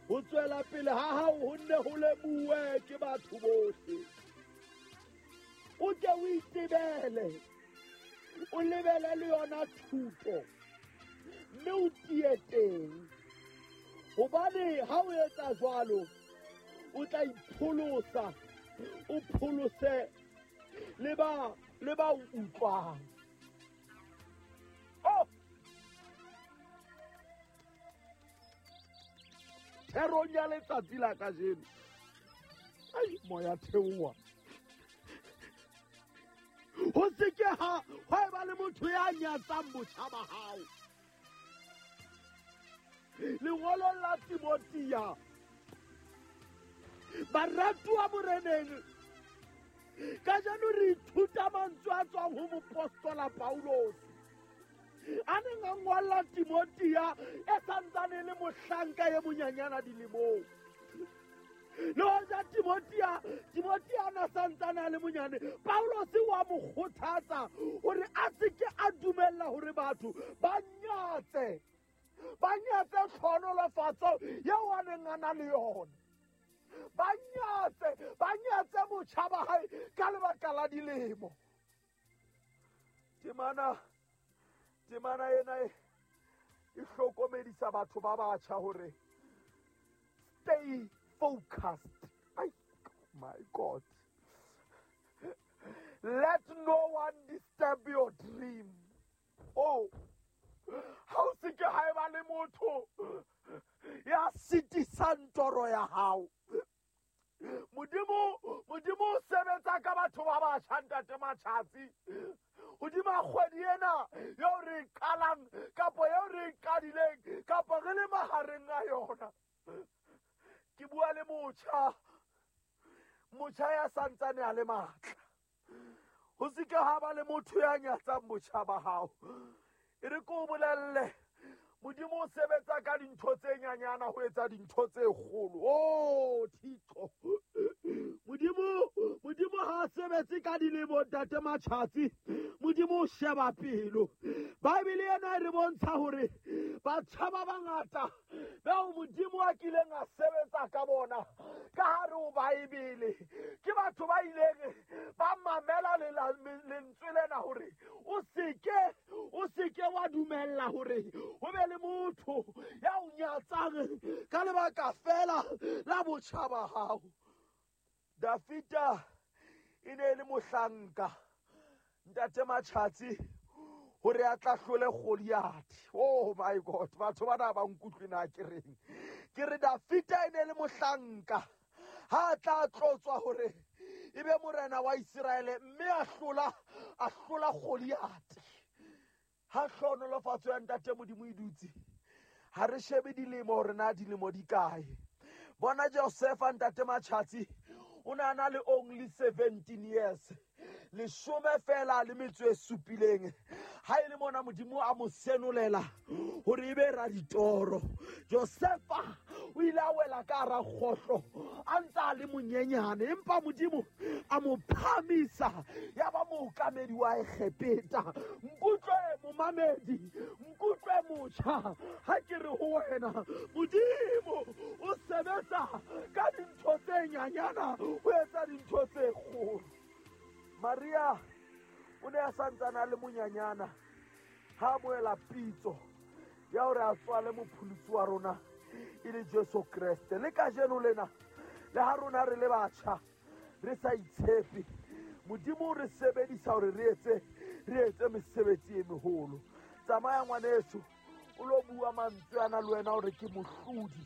Ho tswela pele ha hao ho nne ho lemuwe ke batho bohle. O ke o itebele, o lebele le yona thuto, mme o tie teng. Hobane ha o etsa jwalo, o tla ipholosa, o pholose le ba o utlwang. Oh! Therong ya letsatsi la kajeno, ai moya theoha. Ho se ke ha eba le motho ya nyatsang botjha ba hao. Lengolong la Timothea, baratuwa moreneng, kajeno re ithuta mantswe a tswang ho mopostola Paulus a neng a ngolla Timothea e santsane le mohlanka e monyanyana dilemong. Le hoja Timothea a santsane a le monyane, Paulus wa mo kgothatsa hore a se ke a dumella hore batho ba nyatse tlhonolofatso eo a neng a na le yona. Ba nyatse botjha ba hae ka lebaka la dilemo. Temana ena e hlokomedisa batho ba batjha hore stay focused. Ay, my God. Let no one disturb your dream. Oh, ha o se ke ha eba le motho ya sitisang toro ya hao. Modimo o sebetsa ka batho ba batjha, ntate Matjhatsi. Hodima kgwedi ena eo re e qalang, kapa eo re e qadileng, kapa re le mahareng a yona. Ke bua le motjha ya santsane a le matla. Ho se ke ha ba le motho ya nyatsang botjha ba hao. E re ke o bolelle, Modimo o sebetsa ka dintho tse nyanyana ho etsa dintho tse kgolo. Oh, Thixo. Modimo ha a sebetse ka dilemo, ntate Matjhatsi. Modimo o sheba pelo. Bible ena e re bontsha hore batjha ba bangata bao Modimo a kileng a sebetsa ka bona ka hare ho Bible ke batho ba ileng ba mamela lentswe lena hore o seke wa dumella hore ho be le motho ya o nyatsang ka lebaka fela la botjha ba hao. Dafita e ne e le mohlanka, ntate Matjhatsi, hore a tla hlole Goliath. Oh my God, batho bana ba nkutlwe na ke reng. Ke re Dafita e ne e le mohlanka ha a tla tlotswa hore e be morena wa Iseraele, mme a hlola Goliath. Ha hlohonolofatso ya ntate Modimo e dutse, ha re shebe dilemo hore na dilemo di kae. Bona Josefa, ntate Matjhatsi, o ne a na le only 17 years, leshome fela le metso e supileng. Ha e le mona Modimo a mo senolela hore e be raditoro. Josefa o ile a wela ka hara kgohlo a ntse a le monyenyane, empa Modimo a mo phahamisa ya ba mookamedi wa Egepeta. Nkutlwe momamedi, nkutlwe motjha, ha ke re ho wena, Modimo o sebetsa ka dintho tse nyanyana ho etsa dintho tse kgolo. Maria o ne a santsane a le monyanyana ha amohela pitso ya hore a tswale mopholosi wa rona e le Jesu Kreste. Le kajeno lena, le ha rona re le batjha re sa itshepe, Modimo o re sebedisa hore re etse mesebetsi e meholo. Tsamaya ngwaneso, o lo bua mantswe ana le wena hore ke mohlodi.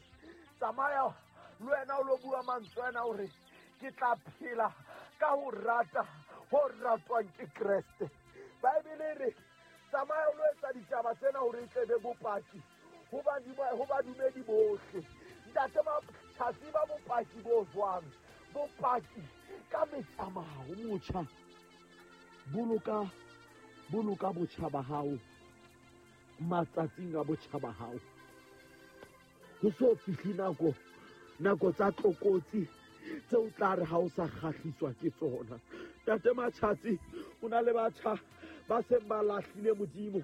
Tsamaya le wena o lo bua mantswe ana hore ke tla phela ka ho rata ho ratwang ke Kreste. Bible e re tsamaya o lo etsa ditaba tsena hore e tle be bopaki ho badumedi bohle. Ntate Matjhatsi, ba bopaki bo jwang? Bopaki ka metsamao. Motjha, boloka botjha ba hao matsatsing a botjha ba hao. Ho so fihle nako tsa tlokotsi tseo tla re ha o sa kgahliswa ke tsona. Ntate Matjhatsi, o na le batjha ba seng ba lahlile Modimo,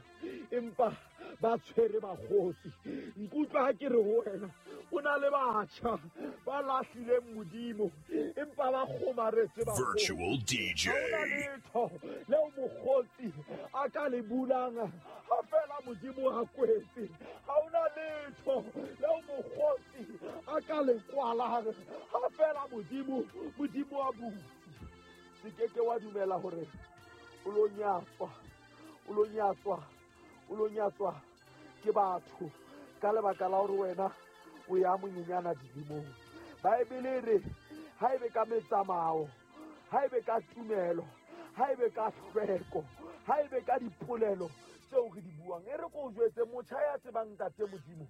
empa ba tshwere bakgotsi. Nkutlwa ha ke re ho wena, o na le batjha ba lahlileng Modimo empa ba kgomaretse bakgotsi. Virtual DJ. Ha hona letho leo mokgotsi a ka le bulang ha fela Modimo a kwetse. Ha hona letho leo mokgotsi a ka le kwalang ha fela Modimo a butse. Se ke ke wa dumela hore o lo nyatswa, o lo nyatswa, o lo nyatswa ke batho ka lebaka la hore wena o ya monyenyana dilemong. Baebele e re ha ebe ka metsamao, ha ebe ka tumelo, ha ebe ka hlweko, ha ebe ka dipolelo tseo re di buang. E re ko o jwetse, motjha ya tsebang Ntate Modimo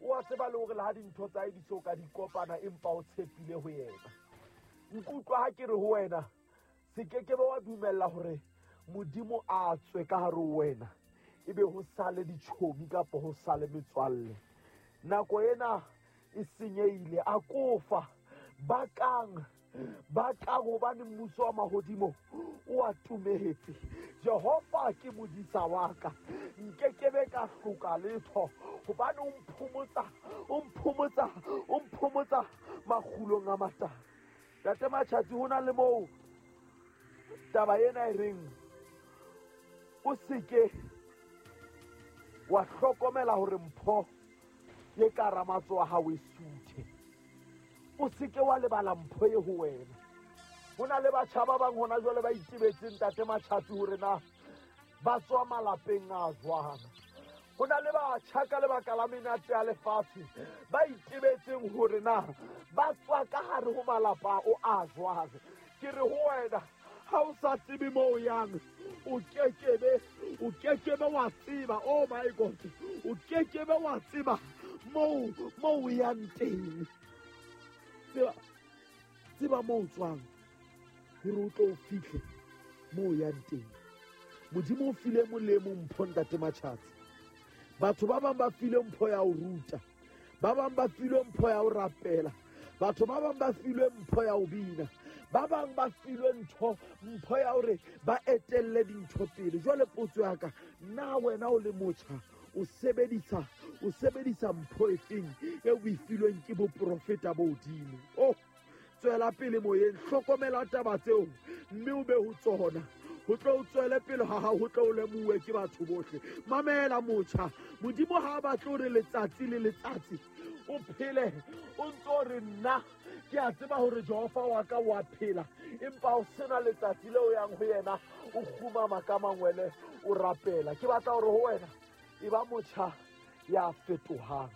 o a tseba le hore le ha dintho tsa hae di so ka di kopana, empa o tshepile ho yena. Nkutlwa ha ke re ho wena, se ke ke be wa dumella hore Modimo a tswe ka hare ho wena, ebe ho sale ditjhomi kapa ho sale metswalle. Nako ena e senyehile, a kofa bakang, bakang, hobane mmuso wa mahodimo o atumetse. Jehova ke modisa wa ka, nkekebe ka hloka letho, hobane o mphomotsa, o mphomotsa, o mphomotsa makgulong a matala. Ntate Matjhatsi, ho na le moo taba ena e reng o seke wa hlokomela hore mpho ye ka hara matsoho a hao e suthe. O seke wa lebala mpho e ho wena. Ho na le batjha ba bang hona jwale ba itebetseng, Ntate Matjhatsi, hore na ba tswa malapeng a jwang. Ho na le batjha ka lebaka la menate ya lefatshe ba itebetseng hore na ba tswa ka hare ho malapa o a jwang. Ke re ho wena, ha o sa tsebe moo o yang, o kekebe, o kekebe wa tseba, oh my God, o kekebe wa tseba moo o yang teng. Tseba, tseba moo o tswang hore o tlo o fihle moo o yang teng. Modimo o file molemo mpho, Ntate Matjhatsi. Batho ba bang ba filwe mpho ya ho ruta, ba bang ba filwe mpho ya ho rapela, batho ba bang ba filwe mpho ya ho bina, ba bang ba filwe mpho ya hore ba etelle dintho pele. Jwale potso ya ka, na wena o le motjha o sebedisa mpho efeng e o e filweng ke boprofeta bo hodimo? Oh, tswela pele moyeng, hlokomela taba tseo mme o be ho tsona. Ho tlo o tswele pele ha hao, ho tlo o lemuwe ke batho bohle. Mamela motjha, Modimo ha a batle hore letsatsi le letsatsi o phele o ntso o re nna ke a tseba hore Jehova wa ka wa phela, empa o sena letsatsi leo yang ho yena o kgumama ka mangwele o rapela. Ke batla hore ho wena e ba motjha ya fetohang,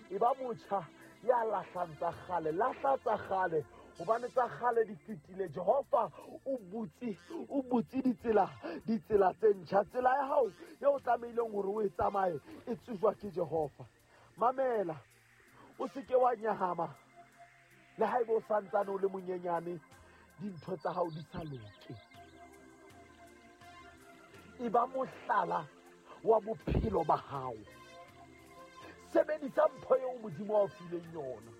e ba motjha ya lahlang tsa kgale. Lahla tsa kgale, hobane tsa kgale di fetile. Jehova o butse, o butse ditsela, ditsela tse ntjha. Tsela ya hao eo o tlamehileng hore o e tsamaye e tsejwa ke Jehova. Mamela, o se ke wa nyahama le haeba o santsane o le monyenyane, dintho tsa hao di sa loke. E ba mohlala wa bophelo ba hao. Sebedisa mpho eo Modimo a o fileng yona.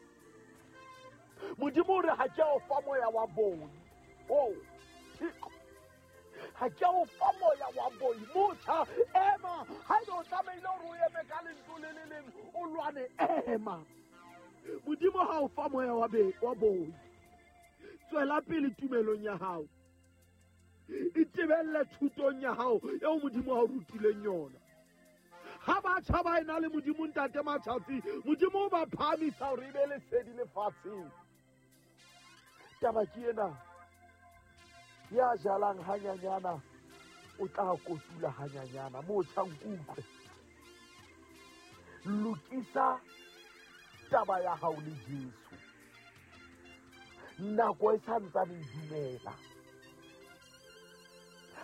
Modimo o re ha ke a o fa moya wa boi. Oh, Thixo. Ha ke a o fa moya wa boi. Motjha, ema. Haeba o tlamehile hore o eme ka lentswe le le leng, o lwane, ema. Modimo ha o fa moya wa boi. Tswela pele tumelong ya hao. Itebelle thutong ya hao eo Modimo a o rutileng yona. Ha batjha ba ena le Modimo, Ntate Matjhatsi, Modimo o ba phahamisa hore e be lesedi lefatsheng. Taba ke ena, ya jalang hanyanyana o tla kotula hanyanyana. Motjha, nkutlwe. Lokisa taba ya hao le Jesu. Nako e sa ntsane e dumela.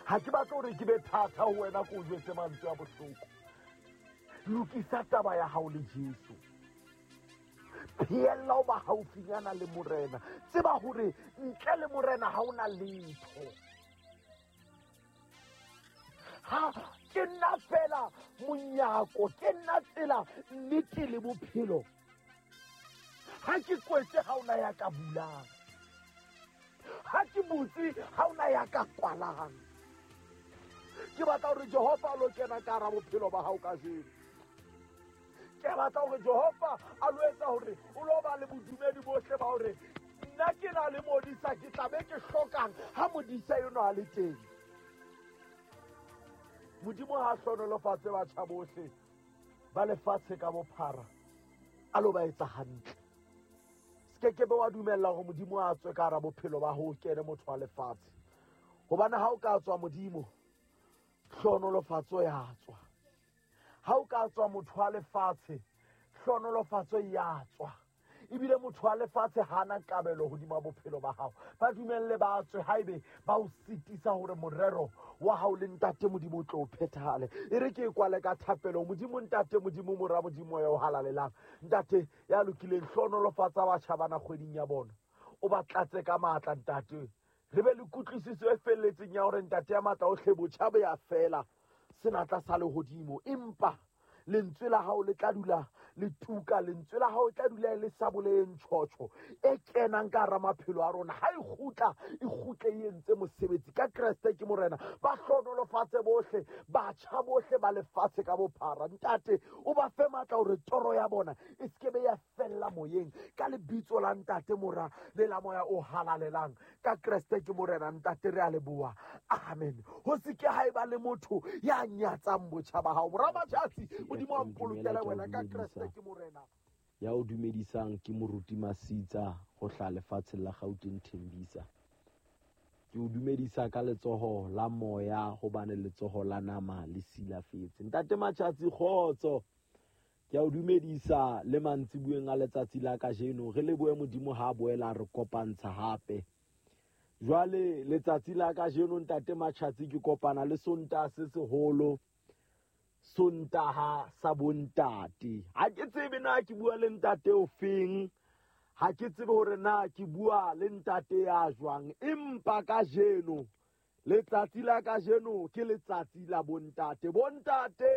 Ha ke batle hore ke be thata ho wena, ke o jwetse mantswe a bohloko. Lokisa taba ya hao le Jesu. Phehella ho ba haufinyana le Morena. Tseba hore ntle le Morena ha hona letho. Ha ke nna fela monyako, ke nna tsela, nnete le bophelo. Ha ke kwetse ha hona ya ka bulang. Ha ke butse ha hona ya ka kwalang. Ke batla hore Jehova a lo kena ka hara bophelo ba hao kajeno. Ke batla hore Jehova a lo etsa hore o lo ba le bodumedi bohle ba hore nna ke na le modisa, ke tla be ke hlokang ha modisa eno a le teng. Modimo ha hlohonolofatse batjha bohle ba lefatshe ka bophara, a lo ba etsa hantle. Se ke be wa dumella hore Modimo a tswe ka hara bophelo ba ho kene motho wa lefatshe, hobane ha o ka tswa Modimo, hlohonolofatso ya tswa. Ha o ka tswa motho wa lefatshe, hlohonolofatso ya tswa. Ebile motho wa lefatshe hana kabelo hodima bophelo ba hao. Ba dumelle ba tswe haebe ba o sitisa hore morero wa hao le Ntate Modimo o tlo o phethahale. E re ke e kwale ka thapelo. Modimo Ntate Modimo Mora Modimo ya o halalelang, Ntate ya lokileng, hlohonolofatsa batjha bana kgweding ya bona, o ba tlatse ka matla Ntate. Re be le kutlwisiso e felletseng ya hore Ntate ya matla ohle, botjha bo ya fela, senatla sa lehodimo, empa lentswe la hao le tla dula le tuka, lentswe la hao le tla dula le sa boleng tjhotjho e kenang ka hara maphelo a rona. Ha e kgutla, e kgutle e entse mosebetsi. Ka Kreste ke Morena, ba hlohonolofatse bohle, batjha bohle ba lefatshe ka bophara. Ntate, o ba fe matla hore toro ya bona e se ke be ya fella moyeng. Ka lebitso la Ntate, Mora le la Moya o halalelang, ka Kreste ke Morena. Ntate, re a leboha. Amen. Ho se ke ha eba le motho ya nyatsang botjha ba hao. Mora Matjhatsi, Modimo a mpolokele wena. Ka Kreste ke Morena. Ya o dumedisang ke Moruti Masitsa ho hlaha lefatsheng la Gauteng, Thembisa. Ke o dumedisa ka letsoho la moya, hobane letsoho la nama le silafetse. Ntate Matjhatsi, kgotso. Ke a o dumedisa le mantsibueng a letsatsi la kajeno. Re lebohe Modimo ha a boela re kopantsha hape. Jwale letsatsi la kajeno Ntate Matjhatsi ke kopana le Sontaha se seholo, Sontaha sa bontate. Ha ke tsebe na ke bua le ntate o feng, ha ke tsebe hore na ke bua le ntate ya jwang, empa kajeno letsatsi la kajeno ke letsatsi la bontate. Bontate,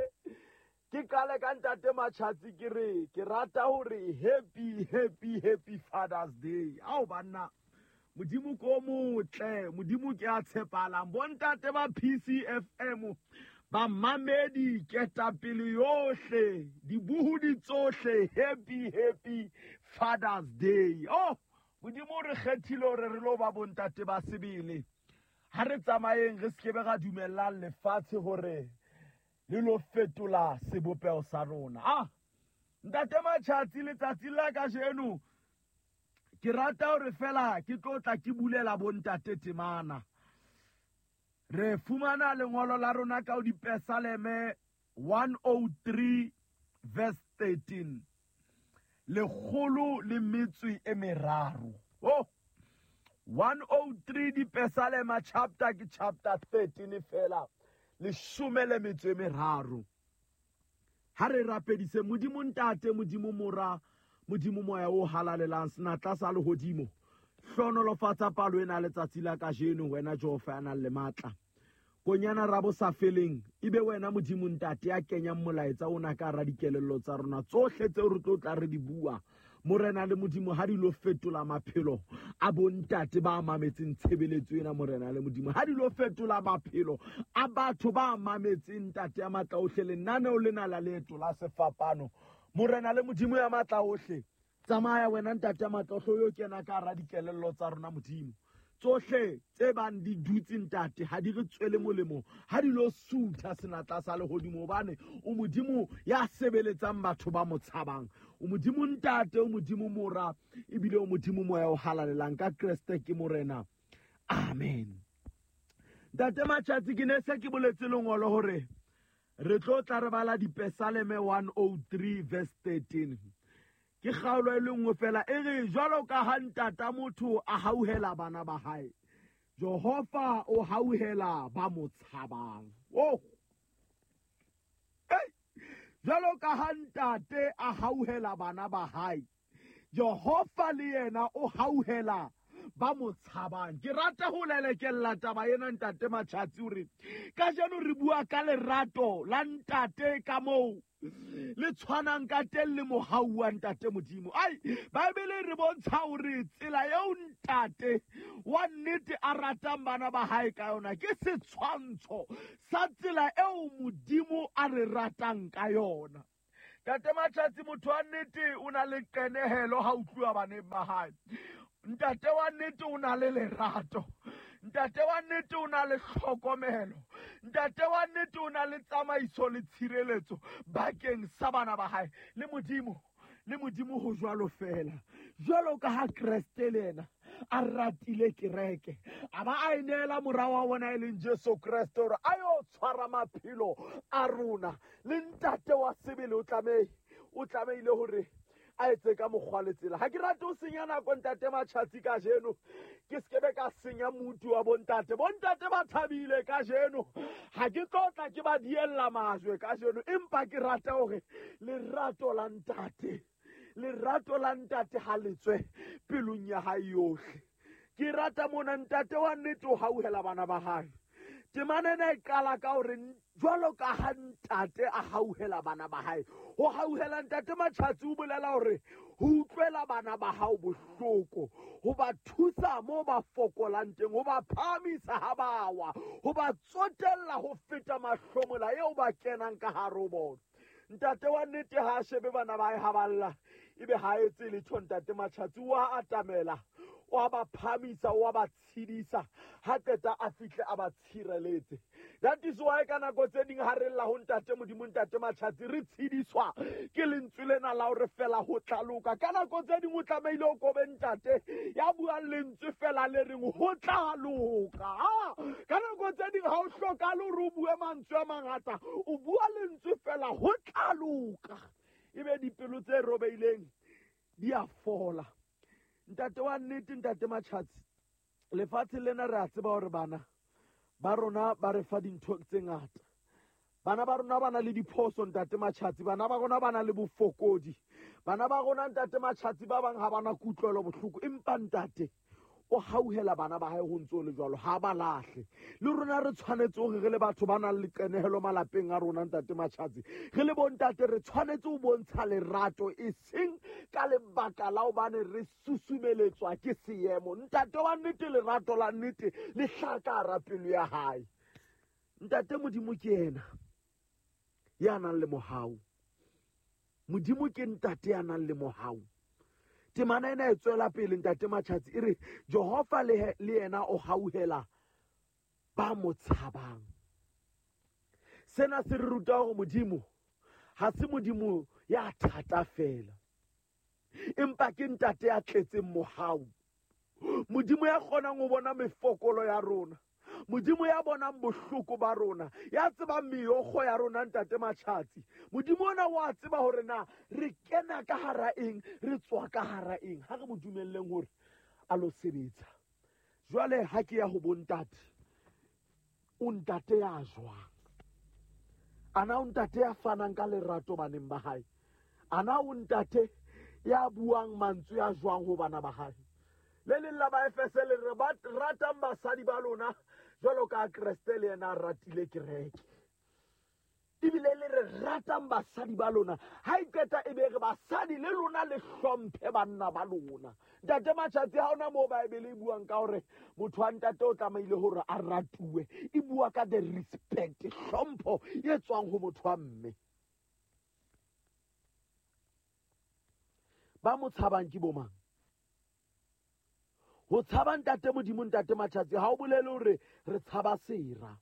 ke qale ka Ntate Matjhatsi, ke re ke rata hore happy, happy, happy Father's Day. Ao banna, Modimo ko motle, Modimo ke a tshepahalang. Bontate ba PCFM, ba mamedi, ketapele yohle, dibuhudi tsohle, happy, happy Father's Day. Oh, Modimo re kgethile hore re lo ba bontate ba sebele. Ha re tsamayeng, re sekebe ra dumellang lefatshe hore le lo fetola sebopeho sa rona. Ah, Ntate Matjhatsi, letsatsi la kajeno ke rata hore fela ke tlo tla ke bulela bontate temana. Re fumana lengolo la rona ka ho Dipesaleme 103 verse 13. Lekgolo le metso e meraro. Oh, 103 Dipesalema chapter ke chapter 13 fela, leshome le metso e meraro. Ha re rapedise Modimo Ntate, Modimo Mora, Modimo Moya o halalelang, senatla sa lehodimo. Hlohonolofatsa palo ena letsatsi la kajeno, wena Jehova ya nang le matla. Konyana ra bo sa feleng, ebe wena Modimo Ntate ya kenyang molaetsa ona ka hara dikelello tsa rona, tsohle tseo re tlo tla re di bua. Morena le Modimo, ha di lo fetola maphelo a bontate ba mametseng tshebeletso ena, Morena le Modimo, ha di lo fetola maphelo a batho ba mametseng Ntate ya matla ohle lenaneo lena la leeto la sefapano. Morena le Modimo ya matla ohle, tsamaya wena Ntate ya matla ohle, o yo kena ka hara dikelello tsa rona Modimo. Tsohle tse bang di dutse Ntate ha di re tswele molemo, ha di lo sutha senatla sa lehodimo, hobane o Modimo ya sebeletsang batho ba mo tshabang. O Modimo Ntate, o Modimo Mora, ebile o Modimo Moya o halalelang. Ka Kreste ke Morena. Amen. Ntate Matjhatsi, ke ne se ke boletse lengolo hore re tlo tla re bala Dipesaleme 103 verse 13. Ke kgaolo e le nngwe fela e re jwalo ka ha ntata motho a hauhela bana ba hae, Jehova o hauhela ba mo tshabang. Oh! Hey! Jwalo ka ha ntate a hauhela bana ba hae, Jehova le yena o hauhela ba mo tshabang. Ke rata ho lelekella taba ena Ntate Matjhatsi hore kajeno re bua ka lerato la ntate ka moo le tshwanang ka teng le mohau wa Ntate Modimo. Ai, Bibele re bontsha hore tsela eo ntate wa nnete a ratang bana ba hae ka yona ke setshwantsho sa tsela eo Modimo a re ratang ka yona. Ntate Matjhatsi, motho wa nnete o na le qenehelo ha o tluwa baneng ba hae. Ntate wa nnete o na le lerato. Ntate wa nnete o na le tlhokomelo. Ntate wa nnete o na le tsamaiso le tshireletso bakeng sa bana ba hae. Le Modimo, le Modimo ho jwalo fela. Jwalo ka ha Kreste le yena a ratile kereke, a ba a e neela mora wa bona e leng Jesu Kreste hore a yo tshwara maphelo a rona. Le ntate wa sebele o tlamehile hore a etse ka mokgwa le tsela. Ha ke rate ho senya nako ntate Matjhatsi kajeno, ke sekebe ka senya mutu wa bontate. Bontate ba thabile kajeno, ha ke tlo tla ke ba diella majwe kajeno, empa ke rata hore lerato la ntate, lerato la ntate ha le tswe pelong ya hae yohle. Ke rata mona ntate wa nnete o hauhela bana ba hae. Temana ena e qala ka hore jwalo ka ha ntate a hauhela bana ba hae. Ho hauhela ntate Matjhatsi o bolela hore ho utlwela bana ba hao bohloko, ho ba thusa moo ba fokolang teng, ho ba phahamisa ha ba wa, ho ba tsotella ho feta mahlomola eo ba kenang ka hare ho bona. Ntate wa nnete ha a shebe bana ba hae ha ba lla, ebe ha a etse letho. Ntate Matjhatsi o a atamela, o a ba phahamisa, o a ba tshedisa, ha qeta a fihle a ba tshireletse. That is why ka nako tse ding ha re lla ho ntate Modimo, ntate Matjhatsi, re tshediswa ke lentswe lena la hore fela ho tla loka. Ka nako tse ding o tlamehile o kobe ntate ya buang lentswe fela le reng ho tla loka. Ka nako tse ding ha o hlokahale hore o bue mantswe a mangata, o bua lentswe fela ho tla loka. Ebe dipelo tse robeileng di a fola. Ntate wa nnete, ntate Matjhatsi, lefatshe lena re a tseba hore bana ba rona ba re fa dintho tse ngata. Bana ba rona ba na le diphoso ntate Matjhatsi, bana ba rona ba na le bofokodi, bana ba rona ntate Matjhatsi ba bang ha bana kutlwelo bohloko, empa ntate o hauhela bana ba hae ho ntso le jwalo, ha ba lahle. Le rona re tshwanetse hore re le batho ba nang le qenehelo malapeng a rona ntate Matjhatsi, re le bontate re tshwanetse ho bontsha lerato, e seng ka lebaka la hobane re susumeletswa ke seemo. Ntate wa nnete, lerato la nnete le hlaha ka hara pelo ya hae. Ntate Modimo ke yena ya nang le mohau. Modimo ke ntate ya nang le mohau. Temana ena e tswela pele ntate Matjhatsi e re Jehova le yena o hauhela ba mo tshabang. Sena se re ruta hore Modimo ha se Modimo ya thata fela, empa ke ntate ya tletseng mohau. Modimo ya kgonang ho bona mefokolo ya rona, Modimo ya bonang bohloko ba rona, ya tsebang meokgo ya rona ntate Matjhatsi. Modimo ona wa tseba hore na re kena ka hara eng, re tswa ka hara eng. Ha re mo dumelleng hore a lo sebetsa. Jwale ha ke ya ho bontate, o ntate ya jwang? Ana o ntate ya fanang ka lerato baneng ba hae? Ana o ntate ya buang mantswe a jwang ho bana ba hae? Le leng la Baefese le re ba ratang basadi ba lona jwalo ka Kreste le yena a ratile kereke. Ebile le re ratang basadi ba lona, ha e qeta e be re basadi le lona le hlomphe banna ba lona. Ntate Matjhatsi, ha hona moo Baebele e buang ka hore motho wa ntate o tlamehile hore a ratuwe. E bua ka the respect, hlompho e tswang ho motho wa mme. Ba mo tshabang ke bo mang? Ho tshaba ntate Modimo, ntate Matjhatsi, ha o bolele hore re tshaba sera.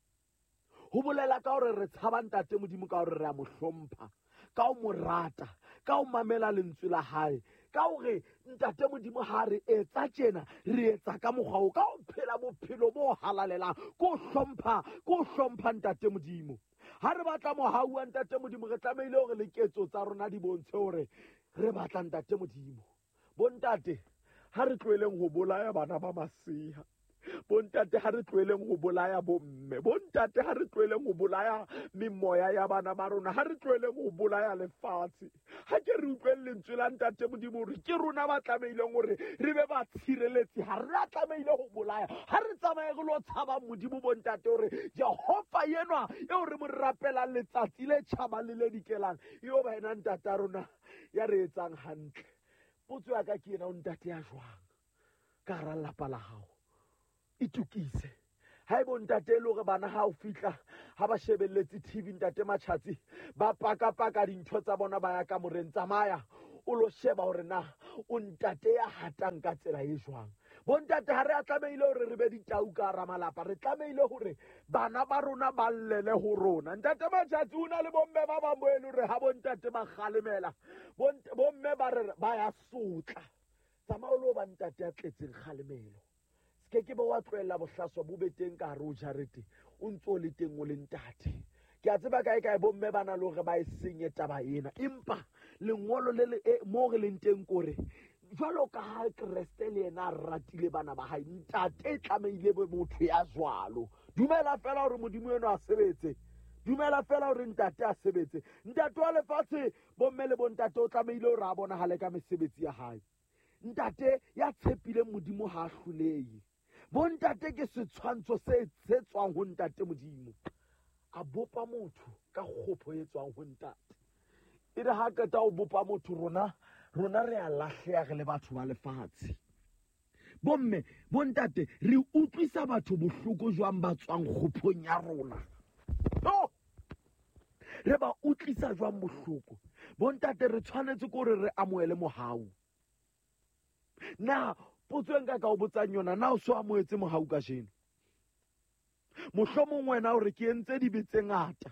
Ho bolela ka hore re tshaba ntate Modimo ka hore re a mo hlompha, ka ho mo rata, ka ho mamela lentswe la hae, ka hore ntate Modimo ha re etsa tjena, re etsa ka mokgwa oo, ka ho phela bophelo bo halalelang, ko hlompha ntate Modimo. Ha re batla mohau wa ntate Modimo, re tlamehile hore le ketso tsa rona di bontshe hore re batla ntate Modimo. Bontate, ha re tlohelleng ho bolaya bana ba masea. Bontate, ha re tlohelleng ho bolaya bomme. Bontate, ha re tlohelleng ho bolaya memoya ya bana ba rona. Ha re tlohelleng ho bolaya lefatshe. Ha ke re utlweng lentswe la ntate Modimo hore ke rona ba tlamehileng hore re be ba tshireletsi. Ha re a tlamehile ho bolaya. Ha re tsamaye re lo tshaba Modimo bontate hore Jehova enwa eo re mo rapelang letsatsi le tjhabang le le dikelang, eo ba ena ntate a rona ya re etsang hantle. Potso ya ka ke ena, o ntate ya jwang ka hara lelapa la hao? Itokise. Ha ebo ntate e le hore bana ha o fihla ha ba shebelletse TV, ntate Matjhatsi, ba pakapaka dintho tsa bona ba ya kamoreng. Tsamaya o lo sheba hore na o ntate ya hatang ka tsela e jwang. Bontate ha re a tlamehile hore re be ditau ka hara malapa, re tlamehile hore bana ba rona ba llele ho rona. Ntate Matjhatsi, o na le bomme ba bang bo e le hore ha bontate ba kgalemela, bomme ba re ba ya sotla. Tsamaya o lo ba ntate ya tletseng kgalemelo. Se ke be wa tlohella bohlaswa bo be teng ka hare ho jarete, o ntso o le teng o le ntate. Ke a tseba kae kae bomme ba na le hore ba e senye taba ena, empa lengolo le le mo re leng teng kore jwalo ka ha Kreste le yena a ratile bana ba hae, ntate e tlamehile be motho ya jwalo. Dumela fela hore Modimo eno a sebetse, dumela fela hore ntate a sebetse. Ntate wa lefatshe, bomme le bontate, o tlamehile hore a bonahale ka mesebetsi ya hae. Ntate ya tshepileng Modimo ha a hlolehe. Bontate ke setshwantsho se tswang ho ntate Modimo. A bopa motho ka kgopho e tswang ho ntate. E re ha qeta ho bopa motho, rona re a lahleha re le batho ba lefatshe. Bomme, bontate, re utlwisa batho bohloko jwang ba tswang kgophong ya rona? No! Re ba utlwisa jwang bohloko? Bontate, re tshwanetse ke hore re amohele mohau. Na potso e nka ka o botsang yona, na o so amohetse mohau kajeno? Mohlomong wena o re ke entse dibe tse ngata,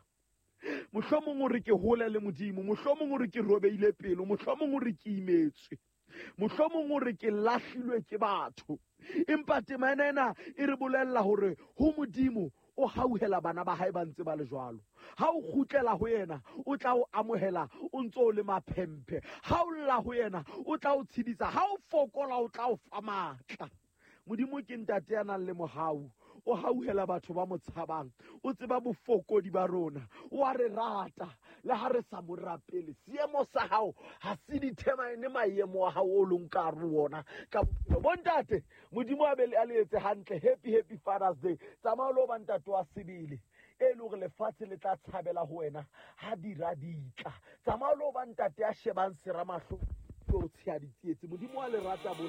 mohlomong o re ke hole le Modimo, mohlomong o re ke robeile pelo, mohlomong o re ke imetswe, mohlomong o re ke lahlilwe ke batho. Empa tema ena e re bolella hore ho Modimo o hauhela bana ba hae ba ntse ba le jwalo. Ha o kgutlela ho yena, o tla o amohela o ntso o le maphemphe. Ha o lla ho yena, o tla o tshedisa. Ha o fokola, o tla o fa matla. Modimo ke ntate ya nang le mohau, o hauhela batho ba mo tshabang, o tseba bofokodi ba rona, o a re rata le ha re sa mo rapele. Seemo sa hao ha se determine maemo a hao o leng ka hare ho ona ka bophelo. Bontate, Modimo a be a le etse hantle. Happy, happy Father's Day. Tsamaya o lo ba ntate wa sebele, e le hore lefatshe le tla tshabela ho wena ha dira di tla. Tsamaya o lo ba ntate ya shebang sera mahlo, o tsheha ditsietsi. Modimo wa le rata bohle.